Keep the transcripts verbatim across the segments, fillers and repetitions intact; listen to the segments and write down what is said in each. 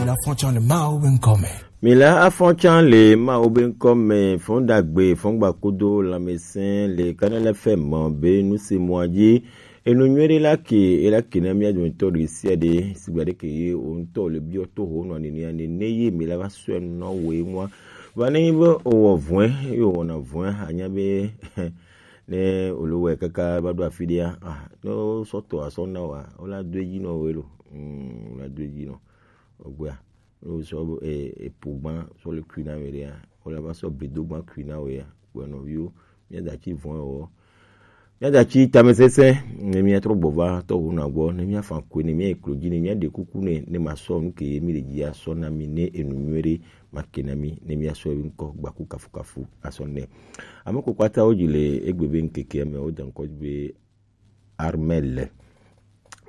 Afɔtsan le Mawu be ŋkɔ me. Mi la afɔtsan le Mawu be ŋkɔ me, fɔn dagbe, fɔn gbakudo, lãmesẽ le Kanal F M be nu se mɔa dzi. Enu nyuie ɖe la ke, e la ke na mía dometɔ ɖe sia ɖe, sigba ɖe ke ye o ŋutɔ le biɔ to ho nɔ nene ya nene ye mi la va sɔe nɔ wo ye ŋua. Va ne nyi be o wɔ vɔe, ye o wɔna vɔe, anya be ne o le wɔe kaka va ɖo afi ɖea, ah, ne o sɔ tɔ asɔ na wa, o la do edzi nɔ wo ye lo. Mm, o la do edzi nɔ. Ogbea, ne wosɔ, e, epo gbã sɔ le kui na we ɖea, wole va sɔ bedo gbã kui na we ya. Kpɔe nɔviwo, míada tsi vɔ̃ ewɔ. Míada tsi tamesesẽ, ne míatrɔ gbɔ va tɔho na gbɔ, ne míafa koe, ne míayi klo dzi, ne míaɖe kuku nɛ, ne masɔ nu ke ye mi le dzi asɔ na mi, ne enu nyuie ɖe make na mi, ne míasɔ ewe ŋkɔ gbaku kafukafu asɔ nɛ. Ame ko kpata wo dzi le egbe be ŋkeke me, woda ŋkɔ dzi be Armel.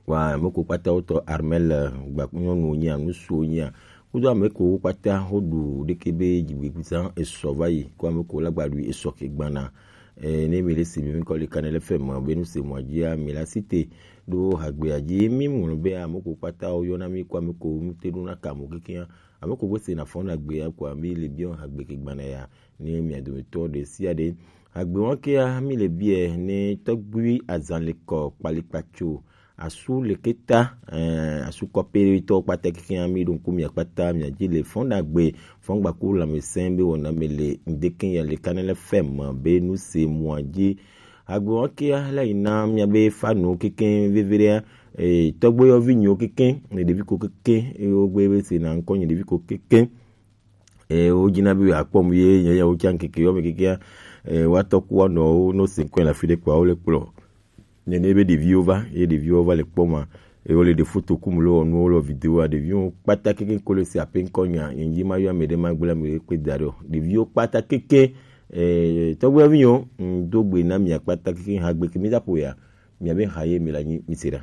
Wa, ame ko kpata wotɔ Armel, gba nyɔnu nyia, ŋutsu nyia. Kudo ame ko kpata woɖu ɖeke be dzigbegbe zã esɔ va yi, ko ame ko la gba ɖui esɔ ke gbana. E, ne mi le si mi kɔ le Kanal F M be nu se mɔa dzia, mi la site ɖo hagbea dzi. Mi ŋlɔ be ame ko kpata woyɔna mi ko ame ko ŋute ɖo na ka mo kekea. Ame ko gbe se na fɔna gbea ko mi le biɔ hagbe ke gbana ya. Ne mia dometɔ ɖe sia ɖe. Agbe wɔn kea mi le biɛ ne tɔgbui azan le kɔ kpalikpatso asu le keta, eh, asu kɔpetɔ kpata keke mi ɖo ŋku mia kpata mia dzi le fɔn dagbe fɔn gbaku lãmesẽ be wɔna me le ŋdeke ya le Kanal F M be nu se mɔa dzi. Agbe wɔn kea la yi na mia be fanu keke veve ɖea, eh, tɔgbe yɔvi nyo keke, ne ɖevi ko keke, eh, wo gbe be se na ŋkɔ nye ɖevi ko keke. E, wo dzina be yewoakpɔm ye, nye, nye, wotsa ŋkeke yɔ me kekea, e, woatɔ ku woanɔwo, ne wose ŋkɔe le afi ɖe kpoa, wole kplɔ. Nene be ɖeviwo va, ye ɖeviwo va le kpɔma, ye wole ɖe foto kum, le wɔ nuwo, le wɔ videoa, ɖeviwo kpata keke ko le se ape ŋkɔ nya, nye dzi ma yɔ ame ɖe ma gblẽ ame ɖe kpe da ɖe o. Ɖeviwo kpata keke, e, tɔgbuiawo viwo, ŋ, do gbe na mia kpata keke ha gbe ke mi da ƒo ya, mia be ha ye mi la nyi, mi se ɖa.